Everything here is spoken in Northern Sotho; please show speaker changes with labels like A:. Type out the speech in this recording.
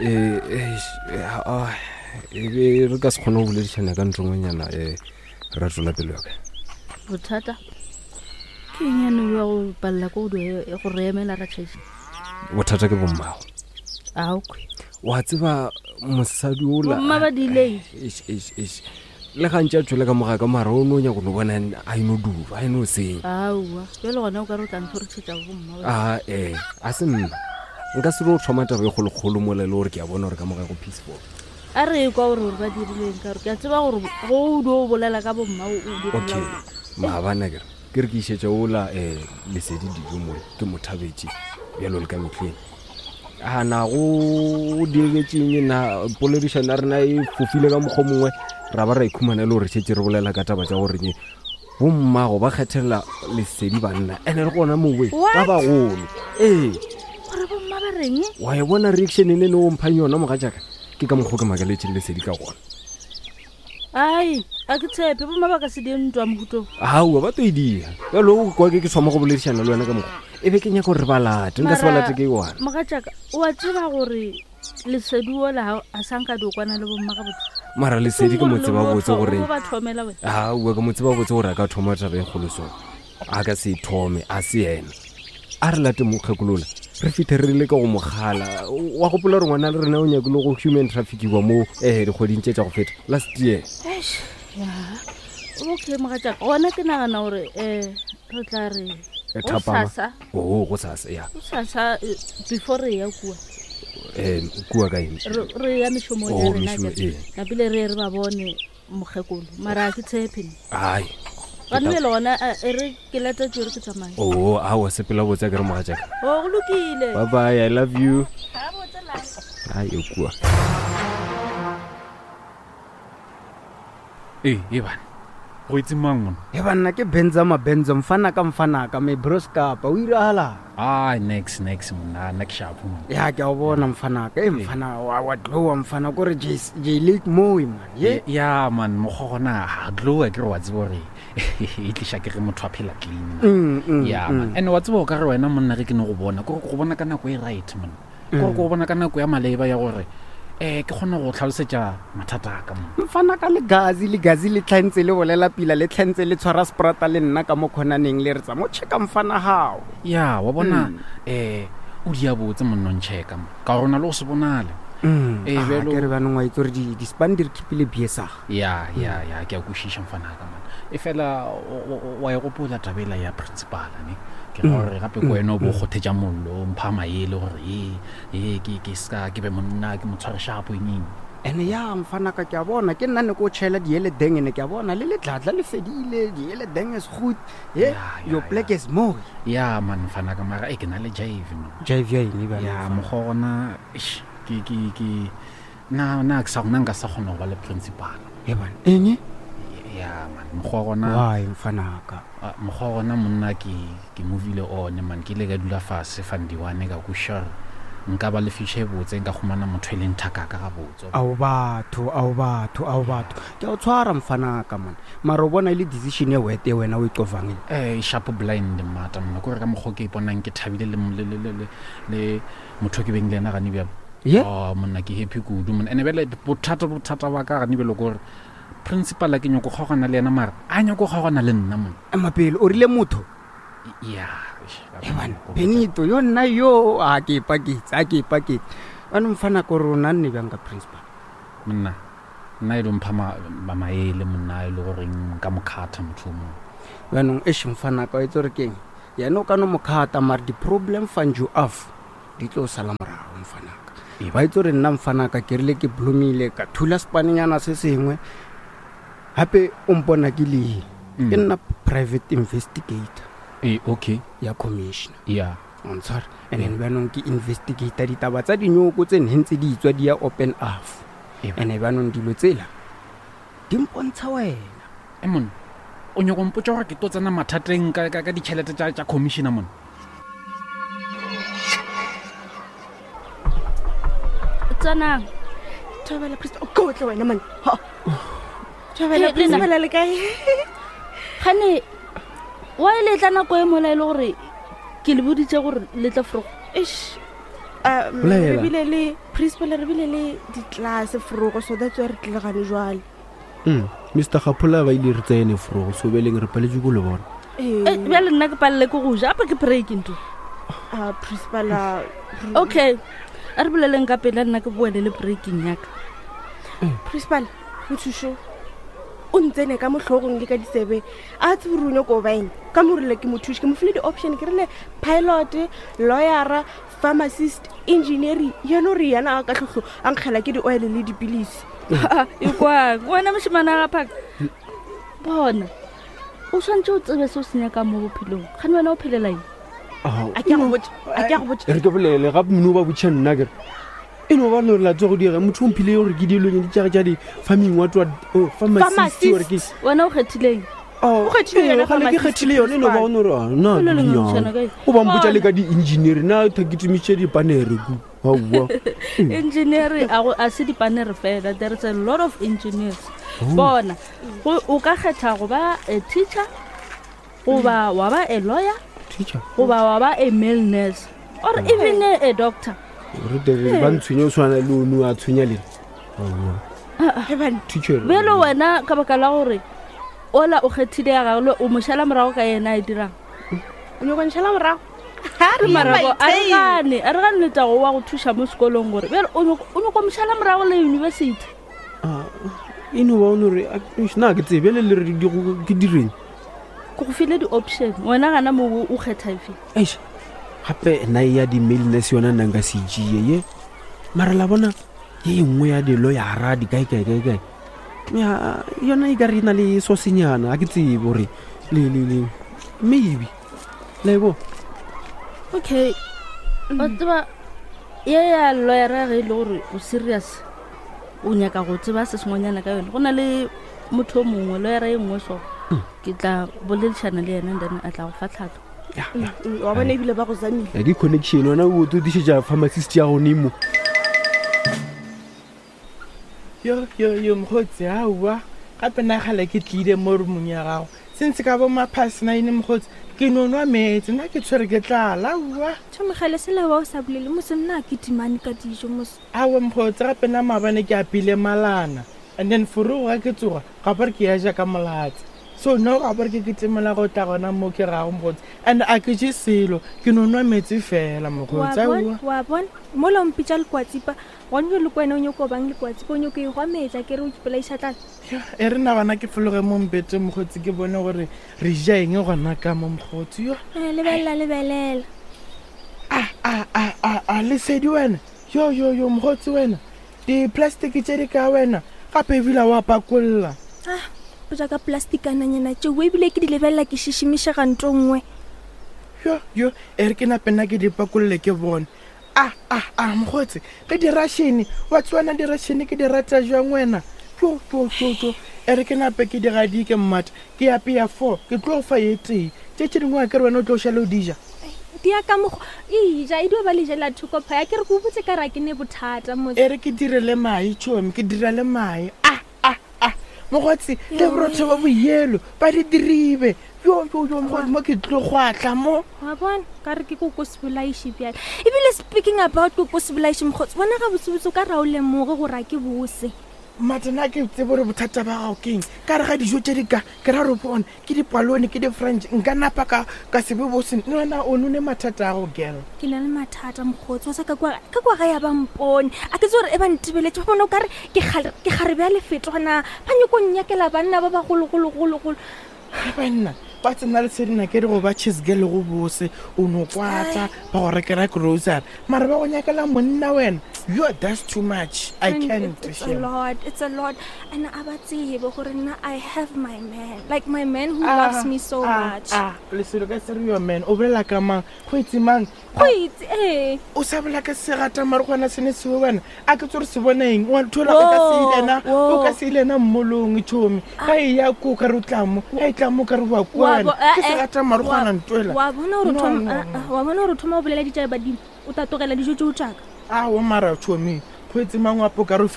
A: Eh, eish, eh, ah, e be re ka se kgone go boledišana ka ntlongwenyana um ra tswela pelo yaka
B: bothata ke eng ya no ya go palela ko go go re emela ra tšhaisa
A: bothata ke bommago
B: aokwe
A: wa tseba mosadi ola
B: Bomma ba diileng?
A: Eish, eish, eish. le gantši a tšwele ka moga ka mara o no nyako no bona a eno duba a eno senya
B: aowa jale gona o ka re o tla ntlhoretšhetša bomma ba
A: a ee a se nna nka se no thoma taba e kgolokgolo mola e le gore ke a bona gore ka moga go peaceful
B: a re kwa gore gore ba dirileng ka gore ke a tseba gore go o dio o bolela ka bomma o o
A: okay maabane kere ke re ke išetša ola um lesedi dijo mola ke mo thabetše bjalo le ka mehleng a na go diegetšeng na poledišano ya rena e fofile ka mokgwa mongwe ra ba ra ikhumana e le gore šetse re bolela ka taba tša gore bommago ba kgethela lesedi banna ene le gona mowe ba bagolo ee
B: gore bomma ba reng
A: wa e bona reaction e ne ne o mphang yona moga jaaka ke ka mokgwa ke makaletseng lesedi ka gona
B: ai a ke tshepe bomma ba ka se die ntwa mohutong
A: aowa ba to e dia jalo o kwa ke ke thoma go boledišana le wena ka mokgwa e be ke nyaka gore ba late nka se ba late ke one
B: mogatšaka o a tseba gore lesedi ola a sa nka di o kwana le bomma gabotse
A: mara lesedi ke mo tseba botse gore
B: ba thomela wena
A: aowa ke mo tseba botse gore a ka thoma taba e kgolo so a ka se e thome a se yena a re late mokgekolola re fitlhe re le ka go mogala wa gopola gore ngwana le rena o nyakile go human traffickiwa mo um dikgweding tše tša go feta last year
B: Eish, ya okay mogatšaka gona ke nagana gore um re tla re
A: Eh, thapama.
B: gosasa
A: oo go sasa ya
B: gosasa eh, before re ya kua
A: um kua ka eng
B: re re ya mešomong ya
A: Oh,
B: rena
A: mešomo,
B: akere.
A: ee.
B: napile re ye re ba bone mokgekolo mara a ke tshepe nna.
A: ai
B: gane bjale gona e re ke lata tsere ke tsamaye
A: oo aowa sepela botse a ke re mogatšaka
B: o go lokile
A: bye bye i love you ai e kua
C: ee e bana go itse mang mona
D: e banna ke benza mabenza mfanaka mfanaka me broskapa o iragala
C: ai nex nex monna nna ke shapo monna
D: ya ke a o bona mfanaka e mfana wa wa glowa mfana kore j J lake moe man ye
C: ya man mokgwa gona ga glowa ke re wa tseba gore e tliša ke ge motho a phela clean man.
D: Mm, mm,
C: ya man and wa tseba o ka re wena monna ge ke ne go bona kore ke go bona ka nako e right monna kore ke go bona ka nako ya maleba ya gore um ke kgone go tlhalosetša mathata a ka monna
D: mfana ka legazi legazi le tlhantse le bolela pila le tlhantse le tshwara sprata le nna ka mo kgonaneng le re tsa mo checka mfana gago
C: ya wa bona um o dia botse monnong checka mo ka gore o na le go se bonale Ee, bjalo-
D: ke re banong wa itse gore di-span di re khipile biesaga
C: ya ya ya ke a kwešiša mfanaka man e fela o- o- wa e gopola tabela ya principala ne ke ra gore gape ko wena o bo o kgothetša mollo o mpha maele gore ee ee ke ke ska ke be monna ke mo tshware shapo eng eng
D: ene ya mfanaka ke a bona ke nna ne ko tšhela diele deng ene ke a bona le letlatla le fedile diele deng is good ye
C: Ya, ya,
D: your black is moe
C: ya man mfanaka mara e ke na le jive man
D: jive ya eng bjale
C: ya mokgwa gona eish, ke ke ke na na ke sa gona nka sa kgona go ba le principal
D: e bana eng
C: ya man mokgwa gona
D: why mfanaka
C: Ah, mokgwa wa gona monna ke ke movile one man ke ile ka dula fase fandiwane ka kweša gore nka ba le future e botse nka humana motho e leng thakaka gabotse
D: ao batho ao batho ao batho ke a o tshwara mfanaka man mara o bona e le decision e wete wena o e qovang e
C: eh sharp blind mmata monna kore ka mokgwa o ke iponang ke thabile le le- le- le- le- le motho o ke beng le ena gane bjalo
D: Ye?
C: Oh, monna ke happy kudu monna ene bjale bothata bothata ba ka gane bjalo kore principal ke nyako kgaogana le yena mara a nyako kgaogana le nna monna
D: ema pele o rile motho
C: ya
D: ebane benito yo nna yo a ke ipaketse a ke ipaketse ane mfana kore o nanne bjang ka principal
C: monna nna e lo mpha ma- ma- maele monna e le goreng nka mo kgatha motho o mongwe
D: jaanong eš mfanaka o etse gore keng yena o ka no mokgata mare di-problem fanjo af di tlo sala morago mfanaka ba itse gore nna mfanaka ke rile ke blomile ka thula sepanenyana se sengwe gape o mpona ke lee ke nna private investigator
C: ee okay
D: ya commissioner
C: ya
D: ontshware and then bjanong ke investigator ditaba tsa dinyoko tse ne ntse di itswa di ya open off
C: Eba.
D: and bjanong dilo tsela di mpontsha wena
C: e monna o nyako mpotsa gore ke tlo tsena mathateng ka, ka, ka ditšhelete tša, tša commissioner monna
B: tsanang
E: thobela priest o kotle wena mane Ha. thobela
B: Hey, Lena.
E: principal le kae
B: gane wa e letla nako e mola e le gore ke le boditse gore le tla forogo
E: Eish. Re bile le principal, re bile le di-class forogo, so that's why re tlile gane jwale.
A: Mr Gapola ba ile re tsene forogo, so beleng re paletse ko le bona.
B: Eh, bjale nna ke palele ke go ja ape ke break nto.
E: Ah, principal,
B: Okay, a re boleleng ka pele, nna ke boele le breaking yaka.
E: Principal, mothušo o ntsene ka mohlogong le ka ditsebe, a tsebe gore o nyako baeng ka mo rile ke mothuši, ke mo file di-option, ke rile pilot, lawyera, pharmacist, engineering, yena o re yena a ka tlhohlo a nkgela ke di-oil le dipilisi.
B: E kwang wena mošemane a gaphaka, bona o tshwanetse o tsebe se o se nyakang mo bophelong, gane wena o phelela eng?
E: A ke a go botša, a ke a go botša.
A: Re ke bolele gape mone o ba botšha nna kere e no ba no re latse go diega motho o mphile gore ke dilong di tšage tša di-farming what what, oh, pharmacist gore ke
B: Wena o kgethileng?
A: Oh,
E: O kgethile yona
A: ee, gale ke
E: pharmacist,
A: kgethile yone e no ba o no re ah, na
B: O le
A: ke
B: lengwe
A: dinyana.
B: kae?
A: O ba mpotša le
B: Bona.
A: ka di-engineer na tha ke tumiše dipanere ku aowa.
B: Engineer a se dipanere fela, there is a lot of engineers. Bona, o ka kgetha go ba a teacher, goba wa ba a lawyer,
A: teacher,
B: goba wa ba a male nurse, or even a doctor.
A: Re tere ba ntshwenye o tshwana le ono a tshwenya lena, aowa.
E: Hebane.
A: Teacher.
B: Bjalo wena ka baka la gore ola o kgethile ya gagwe, o mo šala morago ka yena a e dirang.
E: O nyako nšhala morago.
B: Re marabo a re gane, a re gane letago wa go thuša mo sekolong, gore bjale o nyako mo šala morago le university.
A: Ah, e no ba o no re na ke tsebe le le re ke direng.
B: Ke go file di-option, wena gana mo o kgetha efe?
A: Eish, gape nna e ya di-mailness yona nna nka se tšee ye, mara la bona ye e nngwe ya di-lawyera di kae kae kae kae ya yona e ka re e na le sosenyana, a ke tsebe gore le maybe la e bona.
B: Okay, wa tseba ye ya lawyera, ge e le gore o serious o nyaka go tseba se sengwenyana ka yone, go na le motho o mongwe, lawyera e nngwe, so ke tla boledišana le yena and then a tla go fa tlhatlho.
A: Ya, ya.
E: Wa bona ebile ba go zamile.
A: Ya, ke connection wena o tlo tišetša pharmacist ya gone mo.
F: Yo yo yo, mokgotsi, aowa gape nna gale ke tlile mo roomong ya gago sentse ka bo maphase 9, mokgotsi, ke no nwa meetse, nna ke tshwere ke tlala, aowa.
G: Tšhomegale sela wa o sa bolele mose, nna ke timane ka dijo mose.
F: Aowa mokgotsi, gape nna maabane ke apile malana and then forogo ga ke tsoga ga bore ke ya ja ka molatse, so no ga bore ke kitimela go tla gona mo ke gago mokgotsi, and a ke je selo, ke no nwa meetse fela
G: wa
F: mokgotsi,
G: bona
F: aowa.
G: Wa bona mola o mpitša lekwatsipa, gone jo le ko wena o nyako bang lekwatsipa, o nyako e gwa meetla ke re o ipolaiša tlala.
F: Ya, e re na gona ke fologe mo mbete mokgotsi, ke bone gore re ja eng gona ka mo mokgotsi yo.
G: Eh, lebelela lebelela.
F: A a a a a, lesedi wena, yo yo yo, mokgotsi wena, di-plastic tše di ka wena gape ebile wa pakolla.
G: Ah, o ja ka plastikananyana tšeo ebile ke di lebelela ke šišimišega nto nngwe.
F: Yo yo, e re ke nape nna ke di pakolle ke bone. A a a, mokgotsi, ge di-russian wa tswana, di-russian ke di rata jwang wena, tlo tlo tlo tlo, e re ke nape ke di gadike mmata, ke apea four, ke tlo fa ye tee, tše tše dingwe a ke re wena o tlo šale o di ja.
G: Di ya ka mokgwa eja e dio ba le jela thoko phaya, ke re ke o botse ka ra ke ne bothata motse.
F: E re ke dire le mae tšhomi, ke dira le mae, a a a mokgotsi, le borotho ba boyelo ba di diribe, yo yo yo mokgotsi, mo ke tlo go atla mo.
G: Wa bona ka re ke koko sebolaiši bjale, ebile speaking about koko sebolaiši mokgotsi, bona ga botsebotse o ka ra o lemoge gore a ke bose.
F: Matena ke tsebe gore bothata ba gago keng ka re ga dijo tše di ka ke ra re bone ke dipalone ke di-french, nka napa ka se be bose le wena o none mathata a go girl.
G: Ke na le mathata mokgotsi wa sa ka kwa ka kwa ga ya ba mpone, a ke tse gore e ba ntebeletse ba bona o kare ke kgarebe ya lefetwana, ba nyako nnyakela banna ba bagologologologolo.
F: Ge banna ba tsena le sedina ke re go ba cheese girl go bose o no kwata ba go rekela grocery mara ba go nyakela monna wena, yo, that's too much, I
G: And
F: can't.
G: it's a
F: Shame.
G: lot, it's a lot, and a ba tsebe gore nna I have my man, like my man who
F: Ah,
G: loves me so
F: ah,
G: much.
F: Ah, leselo ka se re your man, o bolela ka mang, go itse mang?
G: Go itse ee.
F: O sa bolela ka segata mare gona se ne sewe wena, a ke tse gore se bona eng wa thola o ka se ilena o ka se ilena mmolong tšhomi ga e ya ko ka re o tla mo ga e tla mo ka re wa
G: Wa
F: kua
G: bo-
F: wena ke
G: eh, eh,
F: segata mare gona ntwela.
G: Wa bona gore o
F: No,
G: thoma-
F: no,
G: ah,
F: no.
G: ah, wa bona gore o thoma o bolela ditšae badimo, o tla tlogela dijo tšeo tšaka.
F: Ao mara tšhomi go etse mangwapo ka re o.